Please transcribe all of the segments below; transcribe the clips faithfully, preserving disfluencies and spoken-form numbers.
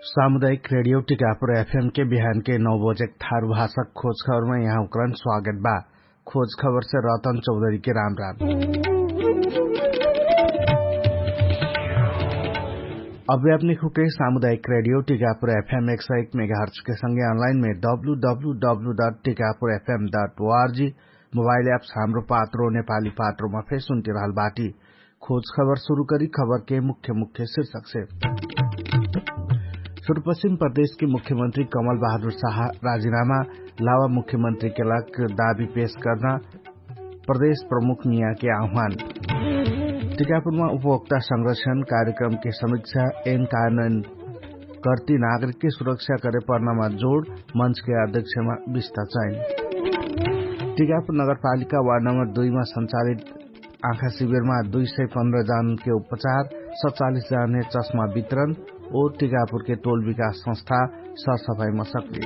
सामुदायिक रेडियो टिकापुर एफएम के बिहान के नौ बजे थारु भाषा खोज खबरमा यहाँ उकरन स्वागत बा। खोज खबर से रतन चौधरी के राम राम। अभी अपने खुके सामुदायिक रेडियो टिकापुर एफएम एक सौ एक मेगाहर्च के संगे अनलाइन में W W W dot Tikapur FM dot ORG mobile apps Hamro Patro नेपाली पात्रोमा फेर सुन्ति रहल बाटी। खोज खबर सुरु करी खबर के मुख्य मुख्य शीर्षक से। सुरपश्चिम प्रदेश के मुख्यमंत्री कमल बहादुर साहा राजीनामा, लावा मुख्यमंत्री के लाग दाबी पेश करना, प्रदेश प्रमुख मिया के आह्वान। टिकापुरमा उपभोक्ता संरक्षण कार्यक्रम के समीक्षा, एन कानन कर्ति नागरिक के सुरक्षा करे पर्नामा जोड, मञ्च के अध्यक्षमा विस्ता चयन। टिकापुर नगरपालिका वार्ड नम्बर दुईमा सञ्चालित आँखा शिविरमा दुई सय पन्ध्र जन के उपचार, सतचालिस जन हे चस्मा वितरण, ओ टिकापुर के टोल विकास संस्था सरसफाईमा सक्रिय।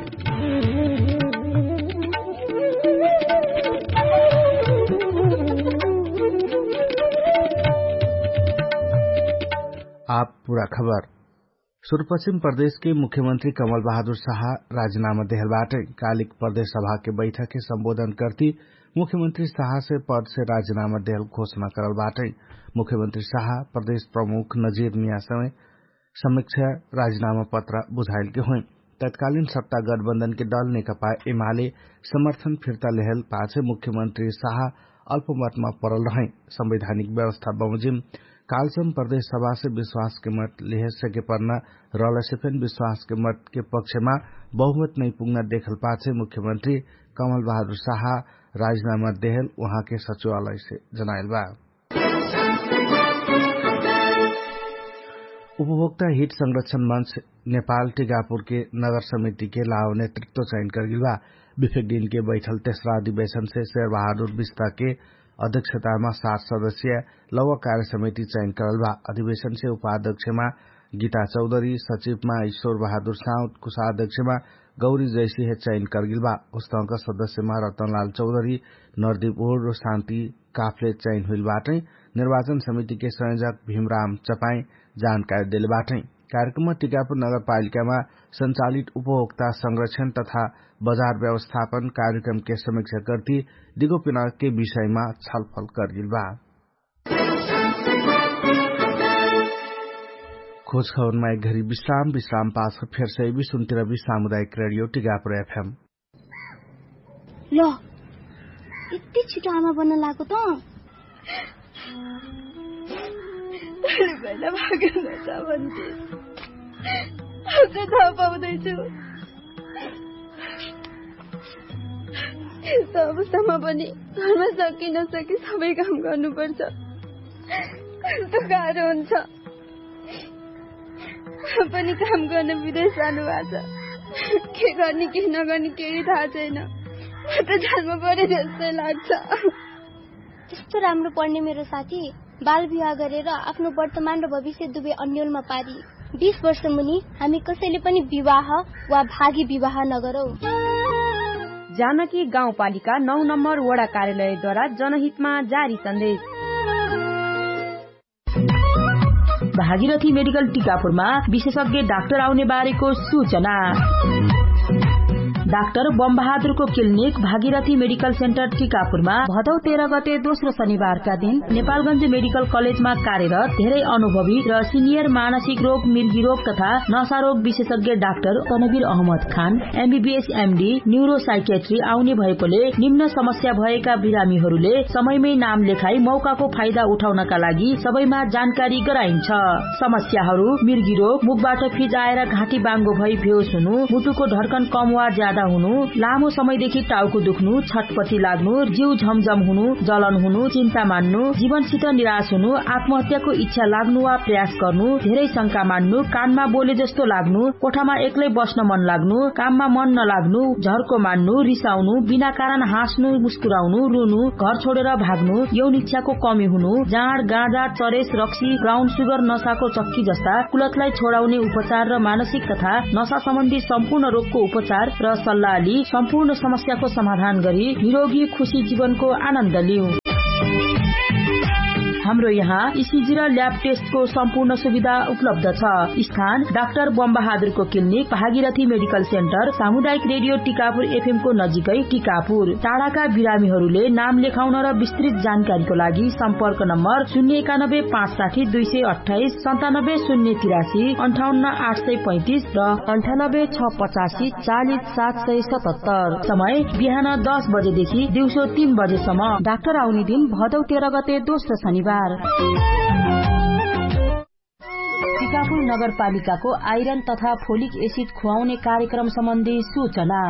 आप पुरा खबर। सुरपश्चिम प्रदेश के मुख्यमंत्री कमल बहादुर साहा राजीनामा देहल बाटै। कालिक प्रदेश सभा के बैठक के संबोधन करती मुख्यमंत्री साहा से पद से राजीनामा देहल घोषणा करल बाटै। मुख्यमंत्री साहा प्रदेश प्रमुख नजीर मिया समय समीक्षा राजीनामा पत्र बुझाइल के होइ। तत्कालीन सत्ता गठबन्धन के दल नेकपा एमाले समर्थन फिर्ता लेहल पाछे मुख्यमंत्री साहा अल्पमतमा परल रहै। संवैधानिक व्यवस्था बमोजिम कालसम प्रदेश सभा से विश्वास के मत लेहे सके पर्ना रहल से फेन विश्वास के मत के पक्षमा बहुमत नै पुग्ना देखल पाछे मुख्यमंत्री कमल बहादुर साहा राजीनामा देहल उहाँ के सचिवालय से जनाइल बा। उपभोक्ता हित संरक्षण मञ्च नेपाल टिकापुर के नगर समिति के लाव नेतृत्व चयन करगिल बा। बिफेक दिन के बैठल तेसरा अधिवेशन से शेर बहादुर विस्ता के अध्यक्षतामा सात सदस्य लौवा कार्य समिति चयन करल बा। अधिवेशन से उपाध्यक्षमा गीता चौधरी, सचिवमा ईश्वर बहादुर साउद, कुशाध्यक्षमा गौरी जैसी हे चयन करगिल बा। उस्तौका सदस्यमा रतनलाल चौधरी, नरदीप ओढ र शान्ति काफले चयन हुइल बाटै। निर्वाचन समिति के संयोजक भीमराम चपाई जानकारी देले बाटै। कार्यक्रममा टिकापुर नगरपालिकामा सञ्चालित उपभोक्ता संरक्षण तथा बजार व्यवस्थापन कार्यक्रम के समीक्षा गर्ती दिगो पिनाके विषयमा छलफल करगिल बा। खोज खबरमा एक घरी विश्राम विश्राम पास फेर सैबी सुन्तिरबी सामुदायिक रेडियो टिकापुर एफएम। ल, यति छिटो आमा बन्न लागो त? तैँले पहिला भागेन त भन्थे। अझ थाहा पाउँदैछु। यस्तो अवस्थामा पनि घरमा सके नसके सबै काम गर्नुपर्छ। कस्तो गाह्रो हुन्छ। पनि काम गर्न विदेश जानुभएको छ। के गर्ने के नगर्ने केही थाहा छैन। म त जानमा परे जस्तै लाग्छ। त्यस्तो राम्रो पढ्ने मेरो साथी बाल विवाह गरेर आफ्नो वर्तमान र भविष्य दुवै अन्यलमा पारी। बिस वर्ष मुनि हामी कसैले पनि विवाह वा भागी विवाह नगरौ। जानकी गाउँपालिका नौ नम्बर वडा कार्यालयद्वारा जनहितमा जारी सन्देश। भागीरथी मेडिकल टिकापुरमा विशेषज्ञ डाक्टर आउने बारेको सूचना। डाक्टर बमबहादुरको क्लिनिक भागीरथी मेडिकल सेन्टर टिकापुरमा भदौ तेह्र गते दोस्रो शनिबारका दिन नेपालगञ्ज मेडिकल कलेजमा कार्यरत धेरै अनुभवी र सिनियर मानसिक रोग मिर्गी रोग तथा नसारोग विशेषज्ञ डाक्टर तनवीर अहमद खान एमबीबीएस एमडी न्युरोसाइकेट्री आउने भएकोले निम्न समस्या भएका बिरामीहरूले समयमै नाम लेखाई मौकाको फाइदा उठाउनका लागि सबैमा जानकारी गराइन्छ। समस्याहरू मिर्गी रोग, मुखबाट फिजाएर घाँटी बाङ्गो भई भेउस हुनु, मुटुको ढर्कन कम वा ज्यादा हुनु, लामो समयदेखि टाउको दुख्नु, छटपटी लाग्नु, जिउ झमझम हुनु, जलन हुनु, चिन्ता मान्नु, जीवनसित निराश हुनु, आत्महत्याको इच्छा लाग्नु वा प्रयास गर्नु, धेरै शंका मान्नु, कानमा बोले जस्तो लाग्नु, कोठामा एक्लै बस्न मन लाग्नु, काममा मन नलाग्नु, झर्को मान्नु, रिसाउनु, बिना कारण हाँस्नु, मुस्कुराउनु, रुनु, घर छोडेर भाग्नु, यौन इच्छाको कमी हुनु, जाँड गाँजा चरेस रक्सी ब्राउन सुगर नसाको चक्की जस्ता कुलतलाई छोडाउने उपचार र मानसिक तथा नसा सम्बन्धी सम्पूर्ण रोगको उपचार र सल्लाह लि सम्पूर्ण समस्याको समाधान गरी निरोगी खुशी जीवनको आनन्द लिउ। हाम्रो यहाँ इसिजी र ल्याब टेस्टको सम्पूर्ण सुविधा उपलब्ध छ। स्थान डाक्टर बमबहादुरको क्लिनिक, भागीरथी मेडिकल सेन्टर, सामुदायिक रेडियो टिकापुर एफएमको नजिकै टिकापुर। टाढाका बिरामीहरूले नाम लेखाउन र विस्तृत जानकारीको लागि सम्पर्क नम्बर शून्य एकानब्बे पाँच साठी दुई सय अट्ठाइस, सन्तानब्बे शून्य तिरासी, अन्ठाउन्न आठ सय पैँतिस र अन्ठानब्बे छ पचासी चालिस सात सय सतहत्तर। समय बिहान दस बजेदेखि दिउँसो तीन बजेसम्म। डाक्टर आउने दिन भदौ तेह्र गते दोस्रो शनिबार। टिकापुर नगरपालिकाको आइरन तथा फोलिक एसिड खुवाउने कार्यक्रम सम्बन्धी सूचना।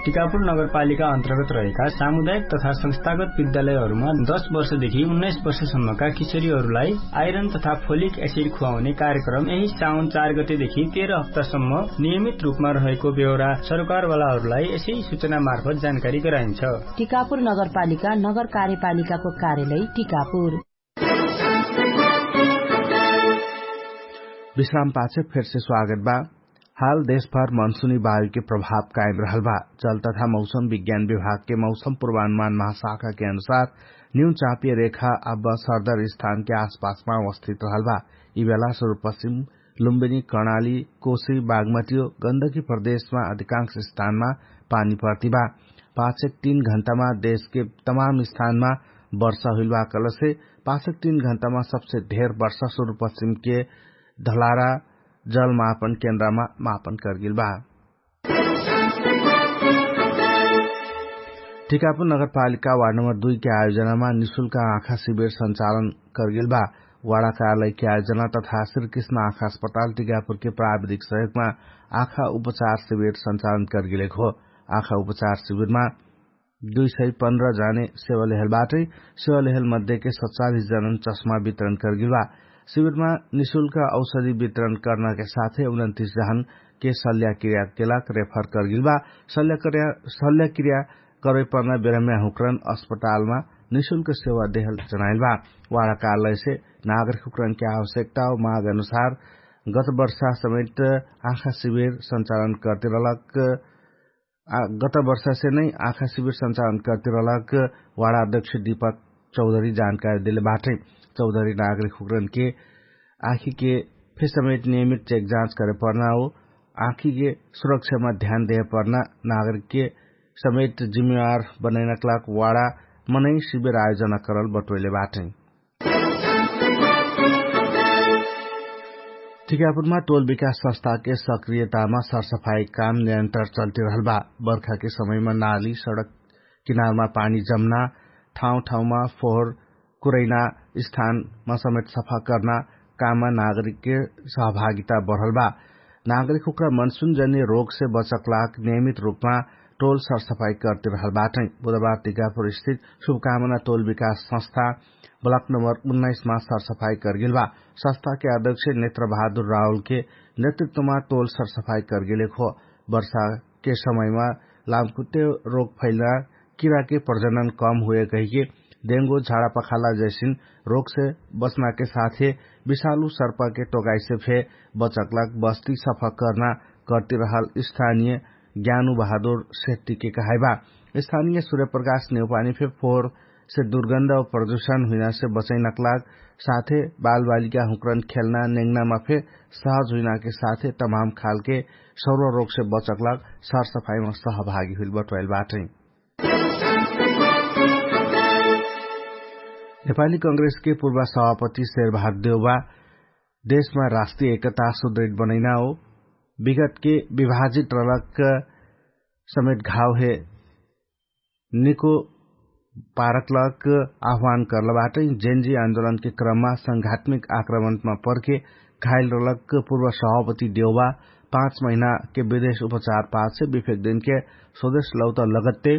टिकापुर नगरपालिका अन्तर्गत रहेका सामुदायिक तथा संस्थागत विद्यालयहरूमा दस वर्षदेखि उन्नाइस वर्षसम्मका किशोरीहरूलाई आइरन तथा फोलिक एसिड खुवाउने कार्यक्रम यही साउन चार गतेदेखि तेह्र हप्तासम्म नियमित रूपमा रहेको बेहोरा सरकारवालाहरूलाई यसै सूचना मार्फत जानकारी गराइन्छ। टिकापुर नगरपालिका नगर कार्यपालिकाको कार्यालय टिकापुर। विश्राम पाछे फेरसे स्वागत बा। हाल देशभर मनसुनी वायुके प्रभाव कायम रहल बा। जल तथा मौसम विज्ञान विभागके मौसम पूर्वानुमान महाशाखाके अनुसार न्यू चापिय रेखा अब सरदर स्थानके आसपासमा अवस्थित रहल बा। यि बेला सुरुपश्चिम लुम्बिनी कर्णाली कोशी बागमतियो गन्दगी प्रदेशमा अधिकांश स्थानमा पानी पर्ति बा। पाछेक तीन घण्टामा देशके तमाम स्थानमा वर्षा हुइल बा कहलसे पाछेक तीन घण्टामा सबसे ढेर वर्षा सुरुपश्चिमके धलारा जलमापन केन्द्रमा मापन करगेल बा। टिकापुर नगरपालिका वार्ड नम्बर दुई के आयोजनामा निशुल्क आँखा शिविर सञ्चालन करगेल बा। वाडा कार्यालय के आयोजना तथा श्रीकृष्ण आँखा अस्पताल टिकापुर के प्राविधिक सहयोगमा आँखा उपचार शिविर सञ्चालन करगेलेक हो। आँखा उपचार शिविरमा दुई सय पन्ध्र जाने सेवा लेहल बाटै। सेवा लेहल मध्येके सतचालिस जनन चश्मा वितरण करगेल बा। शिविरमा निशुल्क औषधि वितरण कर्नाके साथै उनन्तिस जहनके सल्याक्रियाके लाग रेफर करगेल बा। सल्याक्रिया करैपर्ना बेरम्या हुक्रन अस्पतालमा निशुल्क सेवा देहल जनाइल बा। वाडा कार्यालयसे नागरिक हुक्रनके आवश्यकता हो माग अनुसार गत वर्षा समेत आँखा शिविर सञ्चालन करते रहलक। गत वर्षासे नै आँखा शिविर सञ्चालन करते रहलक वाडा अध्यक्ष दीपक चौधरी जानकारी देले बाटै। चौधरी नागरिक हुक्रनके आँखीके फेर समेत नियमित चेक जाँच करे पर्ना हो आँखीके सुरक्षामा ध्यान देहे पर्ना नागरिकके समेत जिम्मेवार बनैनक लाग वाडा मनै शिविर आयोजना करल बटोइले बाटै। टिकापुरमा टोल विकास संस्थाके सक्रियतामा सरसफाई काम निरन्तर चल्तिरहल बा। बर्खाके समयमा नाली सडक किनारमा पानी जम्ना ठाउँ ठाउँमा फोहर कुरैना स्थानमा समेत सफा कर्ना काममा नागरिकके सहभागिता बढल बा। नागरिक हुक्रा मनसुन जन्य रोगसे बचक लाग नियमित रूपमा टोल सरसफाई करतिरहल बाटै। बुधबार टिकापुर स्थित शुभकामना टोल विकास संस्था ब्लक नम्बर उन्नाइसमा सरसफाई करगेल बा। संस्थाके अध्यक्ष नेत्र बहादुर राहुलके नेतृत्वमा टोल सरसफाई करगेलेक हो। वर्षाके समयमा लामकुत्ते रोग फैलना किराके प्रजनन कम हुए कहिके डेंगो झाडापखाला जैसिन रोगसे बचनाके साथे विशालु सर्पाके टोगाइसे फे बचकलाक बस्ती सफा कर्ना करतिरहल स्थानिय ज्ञानु बहादुर सेट्टीके कहाइबा। स्थानिय सुर्यप्रकाश नेउपानी फे फोर से दुर्गन्ध प्रदुषण हुइनासे बचैनकलाग साथे बालबालिका हुक्रन खेल्ना नेङ्नामा फे सहज हुइनाके साथे तमाम खालके सौर्व रोगसे बचकलाग सरसफाइमा सहभागी हुइल बटोइल बाटै। नेपाली कंग्रेसके पूर्वा सभापति शेरबहादुर देउबा देशमा राष्ट्रिय एकता सुदृढ बनैना हो विगतके विभाजित रलक समेत घाव हे निको पारकलक आह्वान कर्लबाटै। जेनजी आन्दोलनके क्रममा संघात्मिक आक्रमणमा पर्के घाइल रलक पूर्व सभापति देउबा पाँच महिनाके विदेश उपचार पाछे विफेक दिनके स्वदेश लौत लगत्ते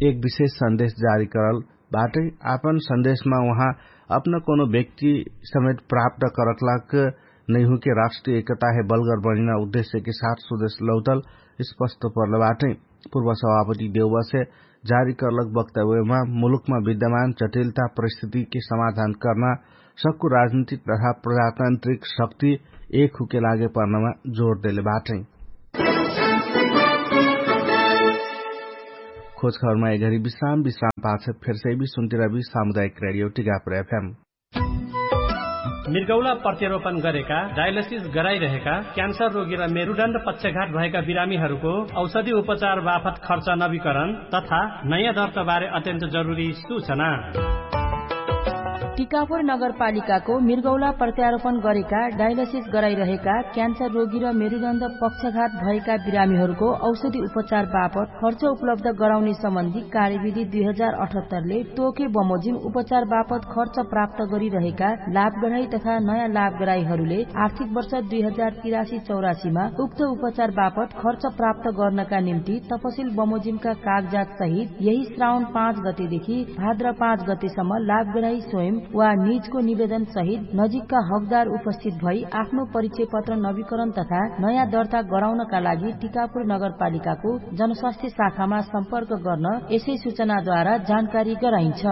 एक विशेष सन्देश जारी करल बाटै। आपन सन्देशमा उहाँ अपना कोनो व्यक्ति समेत प्राप्त करकलाक नैहुके राष्ट्रिय एकताहे बलगर बनिना उद्देश्यके साथ स्वदेश लौतल स्पष्ट पर्लबाटै। पूर्व सभापति देउबसे जारी करलक वक्तव्यमा मुलुकमा विद्यमान जटिलता परिस्थितिके समाधान कर्ना सक्कु राजनीतिक तथा प्रजातान्त्रिक शक्ति एक हुके लागे पर्नामा जोर देले बाटै। खोजखबरमा एघरी विश्राम विश्राम पाछ फेरसैबी सुन्तिरबी सामुदायिक रेडियो टिकापुर एफएम। मृगौला प्रत्यारोपण गरेका डायलिसिस गराइरहेका क्यान्सर रोगी र मेरुदण्ड पक्षघात भएका बिरामीहरूको औषधि उपचार बापत खर्च नवीकरण तथा नयाँ दर्ताबारे अत्यन्त जरुरी सूचना। टिकापुर नगरपालिकाको मृगौला प्रत्यारोपण गरेका डायलिसिस गराइरहेका क्यान्सर रोगी र मेरुदण्ड पक्षघात भएका बिरामीहरूको औषधि उपचार बापत खर्च उपलब्ध गराउने सम्बन्धी कार्यविधि दुई हजार अठहत्तरले तोके बमोजिम उपचार बापत खर्च प्राप्त गरिरहेका लाभग्राही तथा नयाँ लाभग्राहीहरूले आर्थिक वर्ष दुई हजार तिरासी चौरासीमा उक्त उपचार बापत खर्च प्राप्त गर्नका निम्ति तपसिल बमोजिमका कागजात सहित यही श्रावण पाँच गतेदेखि भाद्र पाँच गतेसम्म लाभग्राही स्वयं वा निजको निवेदन सहित नजिकका हकदार उपस्थित भई आफ्नो परिचय पत्र नवीकरण तथा नयाँ दर्ता गराउनका लागि टिकापुर नगरपालिकाको जनस्वास्थ्य शाखामा सम्पर्क गर्न यसै सूचनाद्वारा जानकारी गराइन्छ।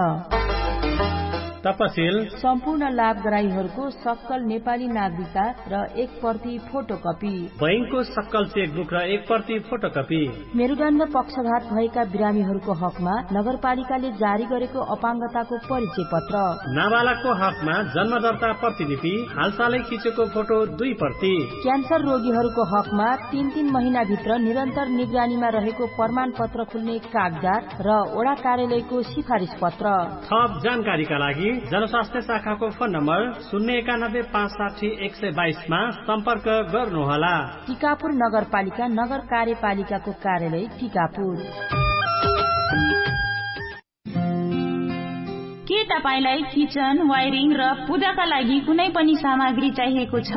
तपसिल सम्पूर्ण लाभग्राहीहरूको सक्कल नेपाली नागरिकता र एक प्रति फोटोकपी। बैंकको सक्कल चेकबुक र एक प्रति फोटोकपी। मेरुदण्ड पक्षघात भएका बिरामीहरूको हकमा नगरपालिकाले जारी गरेको अपाङ्गताको परिचय पत्र। नाबालकको हकमा जन्मदर्ता प्रतिलिपि, हालसालै खिचेको फोटो दुई प्रति। क्यान्सर रोगीहरूको हकमा तीन तीन महिनाभित्र निरन्तर निगरानीमा रहेको प्रमाणपत्र खुल्ने कागजात र वडा कार्यालयको सिफारिस पत्र। थप जानकारीका लागि जनस्वास्थ्य शाखाको फोन नम्बर शून्य एकानब्बे पाँच साठी एक सय बाइसमा सम्पर्क गर्नुहोला। टिकापुर नगरपालिका नगर कार्यपालिकाको कार्यालय टिकापुर। के तपाईंलाई किचन वायरिङ र पूजाका लागि कुनै पनि सामग्री चाहिएको छ?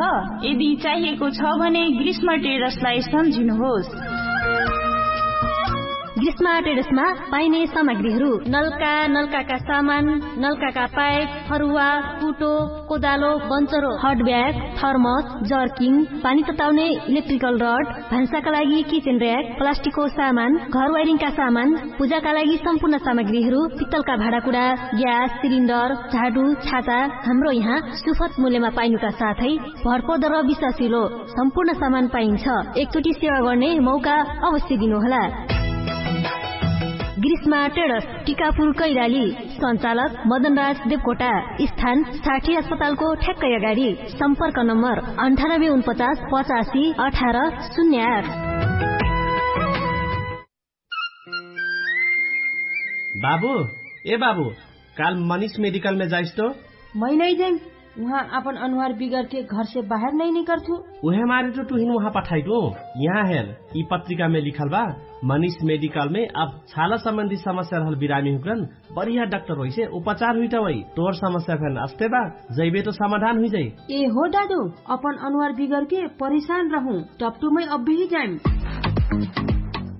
यदि चाहिएको छ भने ग्रीष्म ट्रेडर्सलाई सम्झिनुहोस्। ग्रीष्म ट्रेडर्समा पाइने सामग्रीहरू नलका, नलकाका सामान, नलकाका पाइप, फरुवा, कुटो, कोदालो, बन्चरो, हट ब्याग, थर्मस, जर्किङ, पानी तताउने इलेक्ट्रिकल रड, भान्साका लागि किचन र्‍याक, प्लास्टिकको सामान, घर वायरिङका सामान, पूजाका लागि सम्पूर्ण सामग्रीहरू, पित्तलका भाँडाकुडा, ग्यास सिलिन्डर, झाडु, छाता, हाम्रो यहाँ सुपथ मूल्यमा पाइनुका साथै भरपर्दो र विश्वासिलो सम्पूर्ण सामान पाइन्छ। एकचोटि सेवा गर्ने मौका अवश्य दिनुहोला। ग्रीष्मा ट्रेडर्स, टिकापुर कैलाली। सञ्चालक मदनराज देवकोटा। स्थान साठी अस्पतालको ठ्याक्कै अगाडि। सम्पर्क नम्बर अन्ठानब्बे उनपचास पचासी अठार शून्य आठ। बाबु, ए बाबु, काल मनिष मेडिकलमे जाइस्तो? मै नै जाइम। उहाँ आपन अनुहार बिगरके घरसे बाहेर नै निकरथु। उहे मारे तो तुहिन उहाँ पठाइटु। यहाँ हेर, यि पत्रिकामे लिखल बा, मनिष मेडिकलमे अब छाला सम्बन्धी समस्या रहल बिरामी हुक्रन बढिया डाक्टर होइसे उपचार हुइटवै। तोर समस्या फेन अस्ते बा, जैबे तो समाधान हुइजै। ए हो दादु, अपन अनुहार बिगरके परेशान रहु, टपटुमै अब्बिही जाइम।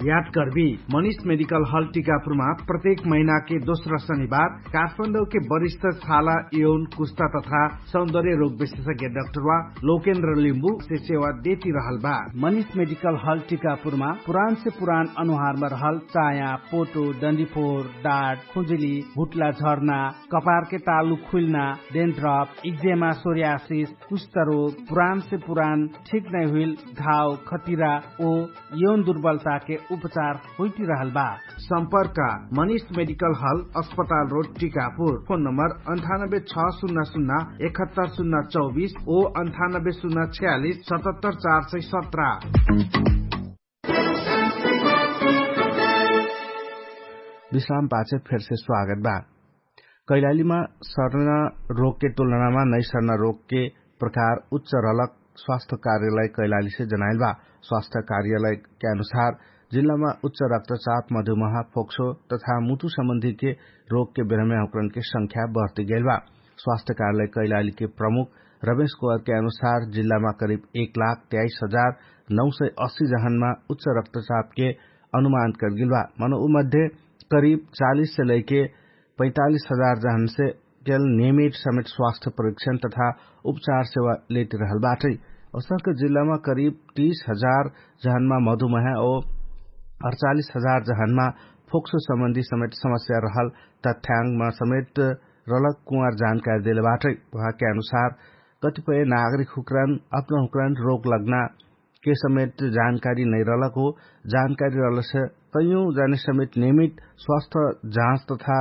याद करबी, मनिष मेडिकल हल टिकापुरमा प्रत्येक महिनाके दोस्रा शनिबार काठमाडौके वरिष्ठ छाला, यौन, कुस्ता तथा सौन्दर्य रोग विशेषज्ञ डाक्टरवा लोकेन्द्र लिम्बु से सेवा देती रहल बा। मनिष मेडिकल हल टिकापुरमा पुरान से पुरान अनुहारमा रहल चाया, पोटो, डन्डीफोर, डाट, खुजुली, भुट्ला झर्ना, कपारके तालु खुइल्ना, डेन्ड्रप, इक्जेमा, सोरियासिस, कुष्ठरोग, पुरान से पुरान ठीक नै हुइल घाव, खटिरा ओ यौन दुर्बलताके उपचार होइटिरहल बा। सम्पर्क मनिष मेडिकल हल, अस्पताल रोड, टिकापुर। फोन नम्बर अन्ठानब्बे छ शून्य शून्य एकहत्तर शून्य चौबिस ओ अन्ठानब्बे शून्य छयालिस सतहत्तर चार सय सत्र। विश्राम पाछे फेरसे स्वागत बा। कैलालीमा सर्न रोगके तुलनामा नैसर्न रोगके प्रकार उच्च रहलक स्वास्थ्य कार्यालय कैलालीसे जनाइल बा। स्वास्थ्य कार्यालयके अनुसार जिल्लामा उच्च रक्तचाप, मधुमेह, फोक्सो तथा मुटु सम्बन्धीके रोगके बेरमे हुक्रनके संख्या बढ्ति गैल बा। स्वास्थ्य कार्यालय कैलालीके प्रमुख रमेश कुवारके अनुसार जिल्लामा करिब एक लाख तेइस हजार नौ सय अस्सी जहनमा उच्च रक्तचापके अनुमान करगेल बा। मनो उ मध्ये करिब चालिस से लैके पैतालिस हजार जहनसे केल नियमित समेट स्वास्थ्य परीक्षण तथा उपचार सेवा लेटिरहल बाटै। औसक जिल्लामा करिब तीस हजार जहनमा मधुमेह ओ अडचालिस हजार जहनमा फोक्सो सम्बन्धी समेट समस्या रहल तथ्याङ्गमा समेट रलक कुवार जानकारी देले बाटै। उहाँके अनुसार कतिपय नागरिक हुक्रान अपना हुक्रान रोग लग्ना के समेत जानकारी नैरलक हो। जानकारी रहलसे तैयौं जाने समेत नियमित स्वास्थ्य जाँच तथा